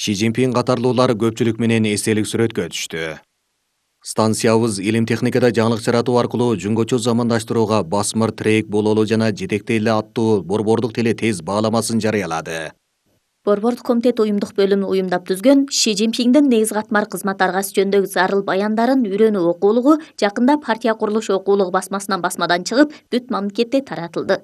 Ши Цзиньпин катарлуулар көпчүлүк менен эстелик сүрөткө түштү. Станциябыз илим техникада жаңылык жаратуу аркылуу жөнгөчө замандаштырууга басмыр тирек бололу жана жетекте эле аттуу борбордук теле тез бааламасын жарыялады. Борбордук комитет уюмдук бөлүмү уюмдап түзгөн Ши Цзиньпиндин негиз катмар кызмат аргасы жөнүндөгү зарыл баяндарын үйрөнүү окуулугу жакында партия курулуш окуулугу басмасынан басмадан чыгып, бүт мамлекетте таратылды.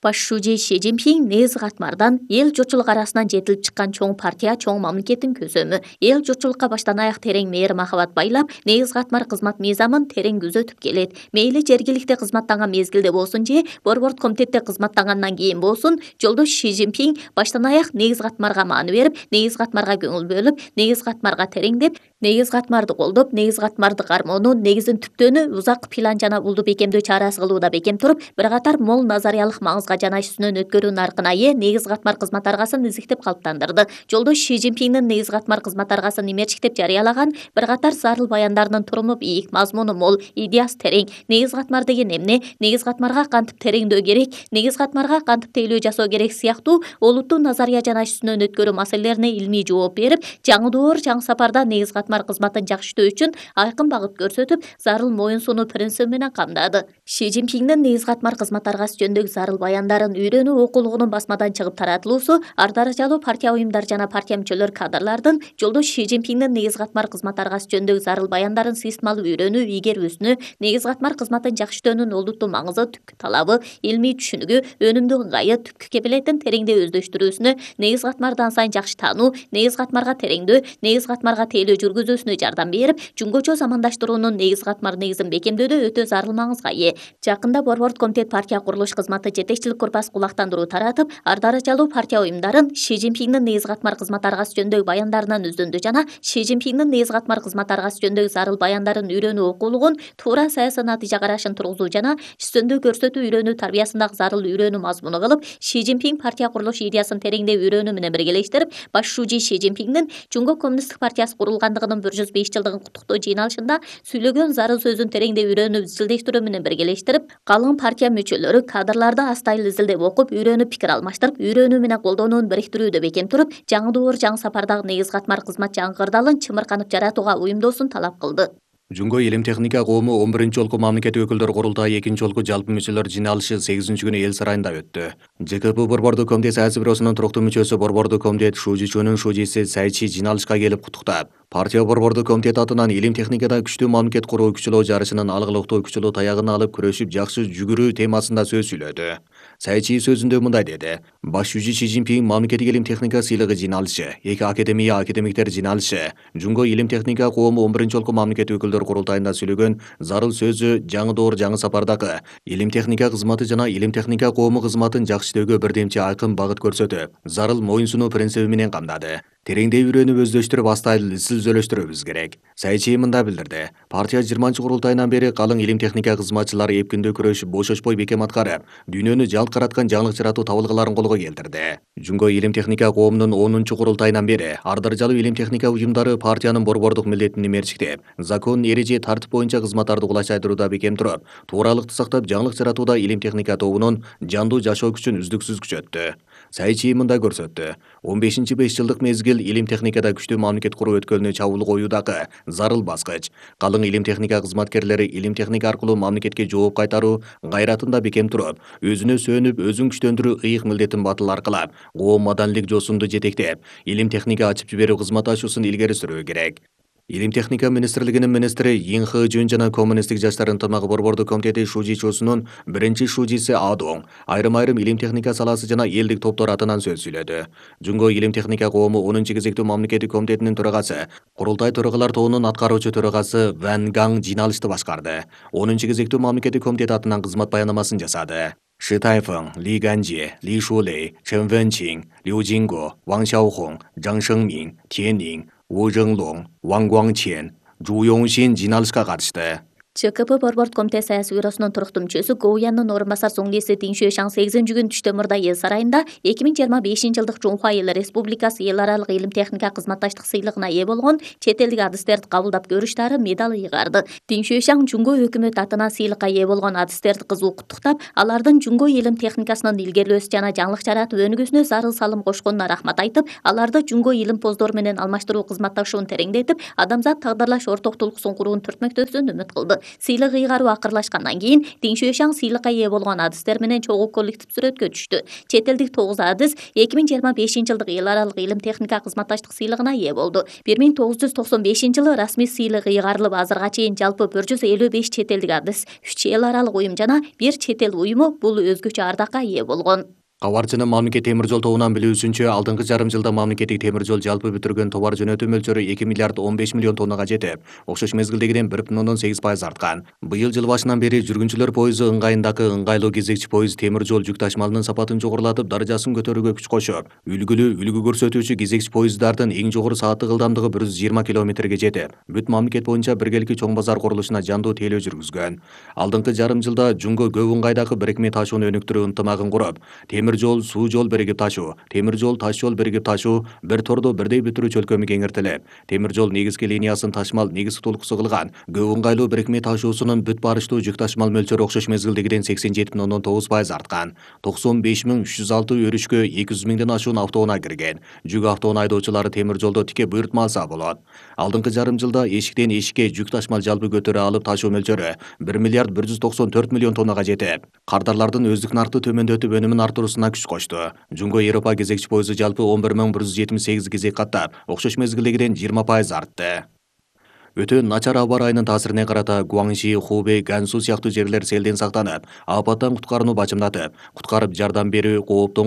Баш шужи Ши Цзиньпин негиз катмардан эл журтчулук арасынан жетилип чыккан чоң партия, чоң мамлекеттин көсөмү. Эл журтчулукка баштан аяк терең мээр махабат байлап, негиз катмар кызмат мыйзамын терең күзөтүп келет. Мейли жергиликте кызматтанган мезгилде болсун же борбордук комитетте кызматтангандан кийин болсун, жолдош Ши Цзиньпин баштан аяк негиз катмарга маани берип, негиз катмарга көңүл бөлүп, негиз катмарга тереңдеп, негиз катмарды колдоп, негиз катмарды кармоонун негизин түптөөнү узак план жана улдуу бекемдөө чарасы кылууда бекем туруп, бир катар мол назариялык маңызга жана үстүнөн өткөрүү наркына ээ негиз катмар кызмат аргасын изиктеп калыптандырды. Жолдош Ши Цзиньпиндин негиз катмар кызмат аргасын имерчик деп жарыялаган бир катар зарыл баяндарынын туруму бийик, мазмуну мол, идеясы терең. Негиз катмар деген эмне, негиз катмарга кантип тереңдөө керек, негиз катмарга кантип тейлөө жасоо керек сыяктуу олуттуу назария жана үстүнөн өткөрүү маселелерине илмий жооп берип, жаңы доор, жаңы сапарда негиз катмар кызматын жакшыртуу үчүн айкын багыт көрсөтүп, зарыл моюн сунуу принциби менен камдады. Ши Цзиньпиндин негиз катмар кызмат аргасы жөнүндөгү зарыл баяндарын үйрөнүү окуулугунун басмадан чыгып таратылуусу ар даражалуу партия уюмдар жана партия мүчөлөр кадрлардын жолдош Ши Цзиньпиндин негиз катмар кызмат аргасы жөнүндөгү зарыл баяндарын системалуу үйрөнүү, игерүүсүнө, негиз катмар кызматын жакшыртуунун олуттуу маңызы, түпкү талабы, илмий түшүнүгү, өнүмдүү ыңгайы, түпкү кепилетин тереңдей өздөштүрүүсүнө, негиз катмарды ансайын жакшы таануу, негиз катмарга тереңдөө, негиз катмарга тейлөө жүргүзүүсүнө жардам берип, жөнгөчө замандаштыруунун негиз катмар негизин бекемдөөдө өтө зарыл маңызга ээ. Жакында борбордук комитет партия курулуш кызматы жетекчилик корпусу кулактандыруу таратып, ар даражалуу партия уюмдарын Ши Цзиньпиндин негиз катмар кызмат аргасы жөнүндөгү баяндарынан өздөндү жана Ши Цзиньпиндин негиз катмар кызмат аргасы жөнүндөгү зарыл баяндарын үйрөнүү окуулугун туура саясий натыйжа карашын тургузуу жана үстөмдүү көрсөтүү үйрөнүү тарбиясындагы зарыл үйрөнүү мазмуну кылып, Ши Цзиньпин партия курулуш идеясын тереңдеп үйрөнүү менен биргелештирип, баш шужи Ши Цзиньпиндин Жумгок коммунисттик партиясы курулгандыгынын 105 жылдыгын куттуктоо жыйналышында сүйлөгөн зарыл сөзүн тереңдеп үйрөнүп изилдештирүү менен биргелештирип, калың партия мүчөлөрү кадрларды астайыл изилдеп окуп, үйрөнүп пикир алмаштырып, үйрөнүү менен колдонууну бириктирүүдө бекем туруп, жаңы доор, жаңы сапардагы негиз катмар кызмат жаңы кырдаалын чымырканып жаратууга уюмдоосун талап кылды. Жунго илим техника коому 11 жолку мамлекеттик өкүлдөр курултайы 2 жолку жалпы мүчөлөр жыйналышы 8-күнү эл сарайында өттү. ЖКП борбордук комитет саясий бюросунун туруктуу мүчөсү борбордук комитет шужичунун шужиси Сайчи жыйналышка келип куттуктап, партия борбордук комитет атынан илим техникада күчтүү мамлекет куруу күчүлөө жарышынын алгылыктуу күчүлөө таягын алып күрөшүп жакшы жүгүрүү темасында сөз сүйлөдү. Сайчи сөзүндө мындай деди: баш шужи Ши Цзиньпин мамлекеттик илим техника сыйлыгы жыйналышы, эки академиктер жыйналышы, Жунго илим техника коому 11 жолку мамлекеттик өкүлдөр курултайында сүйлөгөн зарыл сөзү жаңы доор, жаңы сапардагы илим техника кызматы жана илим техника коому кызматын жакшыртүүгө бирдемчи айкын багыт көрсөтүп, зарыл моюн сунуу принциби менен камдады. Тереңдей үйрөнүп өздөштүрүп, астайыл изилдөөлөштүрүүбүз керек. Сайчи мындай билдирди: партия 20 курултайынан бери калың илим техника кызматчылары эпкиндүү күрөшүп, бошошпой бекем аткарып, дүйнөнү жалт караткан жаңылык жаратуу табылгаларын колго келтирди. Жунго илим техника коомунун 10 курултайынан бери ар даражалуу илим техника уюмдары партиянын борбордук милдетин имерчиктеп, закон, эреже, тартип боюнча кызматтарды кулачайтырууда бекем туруп, тууралыкты сактап, жаңылык жаратууда илим техника тобунун жандуу жашоо күчүн үздүксүз күчөттү. Сайчи мындай көрсөттү: 15-5 жылдык мезгил илим техникада күчтүү мамлекет куруу өткөлүнө чабуул коюудагы зарыл баскыч. Калың илим техника кызматкерлери илим техника аркылуу мамлекетке жооп кайтаруу гайратында бекем туруп, өзүнө сөнүп, өзүн күчтөндүрүү ыйык милдетин батыл аркылап, коом маданийлик жосунду жетектеп, илим техника ачып жиберүү кызмат ачуусун илгери сүрүү керек. Илим техника министрлигинин министри Ин Хэ Жун жана коммунисттик жаштар ынтымагы борбордук комитети шужичусунун биринчи шужиси Адоң айрым-айрым илим техника саласы жана элдик топтор атынан сөз сүйлөдү. Жунго илим техника коому 10 кезектүү мамлекеттик комитетинин төрагасы, курултай төрагалар тобунун аткаруучу төрагасы Ван Гаң жыйналышты башкарды. 10 кезектүү мамлекеттик комитет атынан кызмат баянамасын жасады. Ши Тайфeng, Ли Ганжи, Ли Шулей, Чен Вэнчин, Лю Жинго, Ван Xiaohong, Жан Шэнгмин, Тянь Нин, Ву Жэнлong, Ван Гуаңчен, Жу Йоңшин жыйналышка катышты. ЧКП Борбордук комитет саясий бюросунун туруктуу мүчөсү Го Уяндын орун басар Соңгеси Тиң Шуэшаң 8-күн түштө мурда эл сарайында 2025-жылдык Жунхуа Эл Республикасы эл аралык илим техника кызматташтык сыйлыгына ээ болгон чет элдик адистерди кабылдап көрүштары медал ыйгарды. Тиң Шуэшаң Жунго өкмөт атынан сыйлыкка ээ болгон адистерди кызуу куттуктап, алардын Жунго илим техникасынын илгерилөөсү жана жаңылык жаратып өнүгүүсүнө зарыл салым кошконуна рахмат айтып, аларды Жунго илим поздору менен алмаштыруу кызматташуун тереңдетип, адамзат тагдырлаш орток тулкуусун куруун түртмөктөсүн үмүт кылды. Сыйлык ыйгаруу акырлашкандан кийин Тиң Шуэшаң сыйлыкка ээ болгон адистер менен чогуу коллектив сүрөткө түштү. Чет элдик 9 адис 2025-жылдык эл аралык илим техника кызматташтык сыйлыгына ээ болду. 1995-жылы расмий сыйлык ыйгарылып, азырга чейин жалпы 155 чет элдик адис, 3 эл аралык уюм жана 1 чет эл уюму бул өзгөчө ардакка ээ болгон. Кабарчынын мамлекет темир жол тобунан билүүсүнчө, алдыңкы жарым жылда мамлекеттик темир жол жалпы бүтүргөн товар жөнөтүү мөлчөрү 2 миллиард 15 миллион тоннага жетип, окшош мезгилдегиден 1,8% арткан. Быйыл жыл башынан бери жүргүнчүлөр пойызы ыңгайындагы ыңгайлуу кезекчи пойыз темир жол жүк ташмалынын сапатын жогорулатып, даражасын көтөрүүгө күч кошуп, үлгү көрсөтүүчү кезекчи пойыздардын эң жогору сааттык ылдамдыгы 120 км/саатка жетип, бүт мамлекет боюнча биргеликти чоң базар курулушуна жандуу тейлөө жүргүзгөн. Алдыңкы жарым жылда Жунго көп ыңгайдагы бирикме ташууну өнүктүрүү ынтымагын куруп, темир жол, суу жол биригип ташуу, темир жол, таш жол биригип ташуу бир тордо бирдей бүтүрүү чөлкөмү кеңейтилип, темир жол негизги линиясын ташмал негизги тулкусу кылган көп ыңгайлуу бирикме ташуусунун бүт барыштуу жүк ташмал мөлчөрү окшош мезгилдегиден 87,9% арткан. 95.306 өрүшкө 200 миңден ашуун автоунаа кирген. Жүк автоунаа айдоочулары темир жолдо тике буйртма алса болот. Алдыңкы жарым жылда эшиктен эшикке жүк ташмал жалпы көтөрө алып ташуу мөлчөрү 1 миллиард 194 миллион тоннага жетип, кардарлардын өздүк наркты төмөндөтүп өнүмүн артуруусуна күч кошту. Жунго Европа кезекчи пойызы жалпы 11.178 кезек каттап, окшош мезгилдегиден 20% артты. Өтө начар аба ырайынын таасирине карата Гуаңши, Хубэй, Гансу сыяктуу жерлер селден сактанып, апаттан куткарууну бачымдатып, куткарып жардам берүү, кооптон